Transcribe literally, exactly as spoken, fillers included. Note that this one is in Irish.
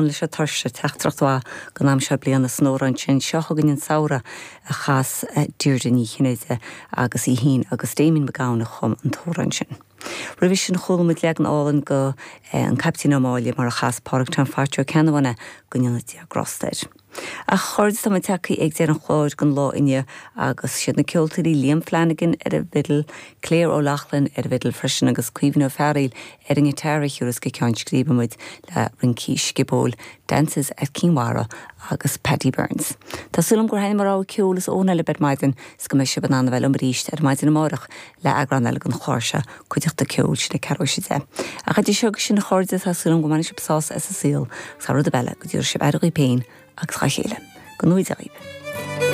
Lán leis an tuirse teachtaireacht mhaith don am seo bliana san amhrán sin seo chugainn an samhradh a chas Deirdre Ní Chinnéide agus í féin agus Damien Mac Gabhann a chum an t-amhrán sin. Roimhe sin chuala muid leagan álainn de an Caiptín Ó Máille mar a chas Pádraig Tom Phaitsí Ó Ceannabháin go ndéana Dia grásta air. A chairde tá muid tagtha ag deireadh an chláir don lá inniu agus siad na ceoltóirí Liam Flanagan ar an bhfidil, Claire O'Loughlin ar an bhfidil freisin agus Caoimhín Ó Fearghaíl ar an ngiotár a thiúrfas go ceann scríbe muid le rincí sciobóil, Dances at Kinvara agus Paddy Burns. Tá súil agam gur thaitin mo rogha ceoil is ón eile ar maidin is go mbeidh sibh in ann a bheith liom arís ar maidin amárach le eagrán eile den chlár seo cuideachta ceoil sin ag ceathrú tar éis a deich. Ach idir seo sin a chairde tá súil agam go mbainfidh sibh sásamh as an saol, agus rud eile go dtabharfaidh sibh aire daoibh féin agus dá chéile. Go ngnóthaí Dia dhaoibh.